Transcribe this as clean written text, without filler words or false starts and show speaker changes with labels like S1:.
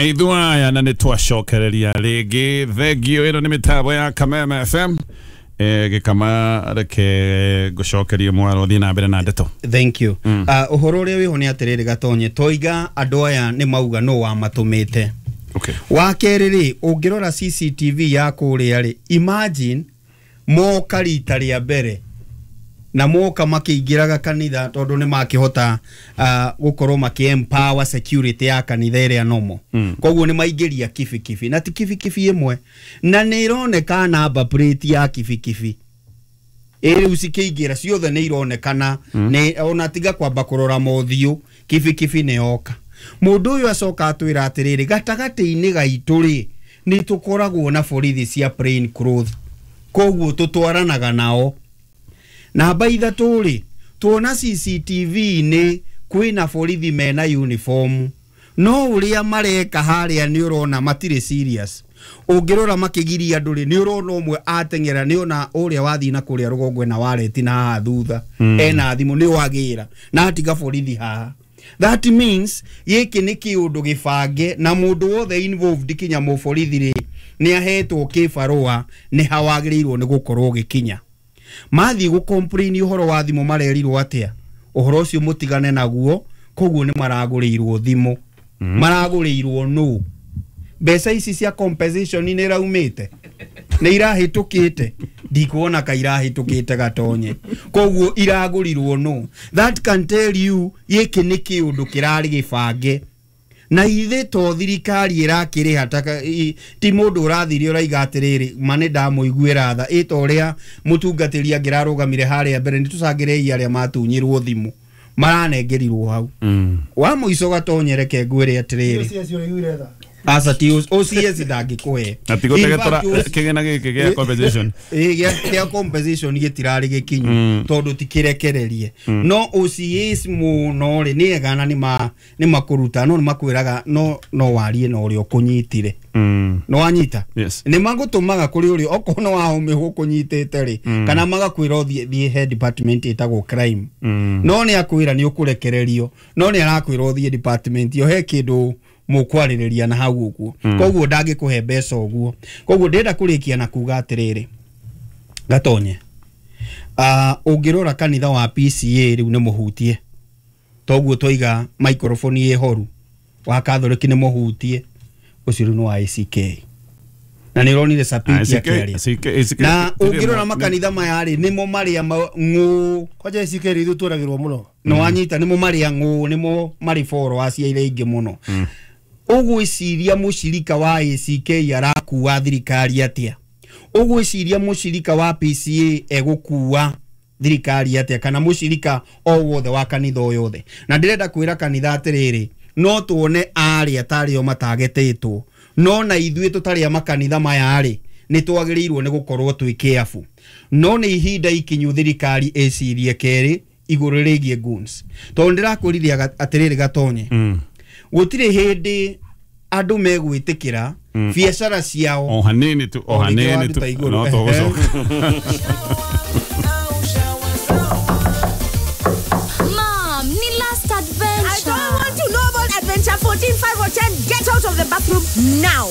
S1: Ithuaya na nĩ twacokereria rĩngĩ. Thengio, ĩno nĩ mĩtambo ya Kameme FM. Gĩkama, reke ngũcokerie mwaro, thiĩ na mbere na ndeto.
S2: Thank you. Ũhoro ũrĩa wĩho nĩ atĩrĩrĩ, Gatonye, toiga andũ aya nĩ mauga nũ wamatũmĩte. Wa kerĩ rĩ, ũngĩrora CCTV ya kũrĩa rĩ, imagine moka rita rĩa mbere na moka makĩingĩraga kanitha, tondũ nĩ makĩhota gũkorwo makĩ empower security ya kanitha ĩrĩa nomo. Koguo nĩ maingĩria kibikibi, na ti kibikibi ĩmwe, na nĩ ĩroneka number plate ya kibikibi ĩ rĩu cikĩingĩra ciothe nĩ ironekana. Nĩ ona tiga kwamba kũrora mothiũ, kibikibi nĩ yoka. Mũndũ ũyũ acoka atwĩra atĩrĩrĩ, gatagatĩ-inĩ gaitũ rĩ, nĩ tũkoragwo na borithi cia plain clothes, koguo tũtwaranaga nao. Namba ithatũ rĩ, tuona CCTV-inĩ kwĩna borithi mena uniform, no ũrĩa mareka harĩa nĩ ũrona matirĩ serious. Ũngĩrora makĩgiria andũ rĩ, nĩ ũrona ũmwe ateng'era, nĩ ona ũrĩa wathiĩ na kũrĩa rũgongo ena wareti na haha thutha ena thimũ nĩ wagĩra na atiga borithi haha. That means gĩkĩ nĩ kĩũndũ gĩbange, na mũndũ wothe involved kinya mũborithi rĩ, nĩ ahetwo kĩbarũa nĩ ha wagĩrĩirwo nĩ gũkorwo gĩkinya. Mathiĩ gũ complain ũhoro wa thimũ, marerirwo atĩa? Ũhoro ũcio mũtigane naguo. Koguo nĩ maragũrĩirwo thimũ. Maragũrĩirwo nũ? Mbeca ici cia compensation nĩ iraumĩte, nĩ irahĩtũkĩte? Ndikuona ka irahĩtũkĩte, Gatonye. Koguo iragũrirwo nũ? That can tell you gĩkĩ nĩ kĩũndũ kĩrarĩ gĩbange, na ithe to thirikari ĩrakĩrĩha ti mũndũ ũrathire ũraiga atĩrĩrĩ, ma nĩ ndamũiguĩra tha ĩ ta ũrĩa mũtungatĩri angĩrarũgamire harĩa mbere, nĩ tũcangĩrei arĩa matunyirwo thimũ maranengerirwo hau. Wa mũico, Gatonye, reke ngwĩre atĩrĩrĩ, aca, ti OCS ndangĩkũhe.
S1: Na ti gũtegetora kĩgĩna gĩkĩ gĩa compensation.
S2: Ĩ, gĩa compensation gĩtirarĩ gĩkinyu tondũ ti kĩrekererie. No OCS mũno rĩ, nĩ ega na nĩ makũruta, no nĩ makwĩraga no warie na ũrĩa ũkũnyitire. No wanyita?
S1: Yes.
S2: Nĩ magũtũmaga kũrĩ ũrĩa okorwo nĩ wahũmĩhwo ũkũnyitĩte rĩ, kana magakwĩra ũthiĩ thiĩ he department ĩtagwo crime. No nĩ akwĩra nĩ ũkũrekererio, no nĩ arakwĩra ũthiĩ department ĩyo he kĩndũ mũkwarĩrĩria na hau ũguo. Koguo ndangĩkũhe mbeca ũguo. Koguo ndĩrenda kũrĩkia na kuga atĩrĩrĩ, Gatonye, ũngĩrora kanitha wa PCA rĩu nĩ mũhutie, toguo twaiga microphone ĩ horu, wa Catholic nĩ mũhutie, ũcio rĩu nĩ wa ACK, na nĩ ũronire Sapiti akĩaria. Na ũngĩrora makanitha maya rĩ, nĩmo marĩa ng'ũ.
S3: Kwanja ICK rĩ, ithuĩ tũragĩrwo mũno.
S2: Nĩ wanyita? Nĩmo marĩa ng'ũ, nĩmo marĩ followers iria ingĩ mũno. Ũgwĩciria mũcirika wa ACK arakua thirikari atĩa? Ũgwĩciria mũcirika wa PCA egũkua thirikari atĩa, kana mũcirika o wothe wa kanitha o yothe? Na ndĩrenda kwĩra kanitha atĩrĩrĩ, no tuone arĩa tarĩ o matagetĩtwo, no na ithuĩ tũtarĩ a makanitha maya rĩ, nĩ twagĩrĩirwo nĩ gũkorwo twĩ careful. No nĩ ihinda ikinyu thirikari ĩcirie kerĩ igũrũ rĩgiĩ goons, tondũ ndĩrakwĩrire atĩrĩrĩ, Gatonye, gũtirĩ hĩndĩ andũ megwĩtĩkĩra biacara ciao.
S1: O hanini tu, o
S2: O rĩngĩ
S1: hanini
S2: wanduta
S1: tu.
S2: Igũrũ.
S1: No tũgũcoka.
S4: Mom, ni last adventure.
S5: I don't want to know about adventure 14, 5 or 10. Get out of the bathroom now.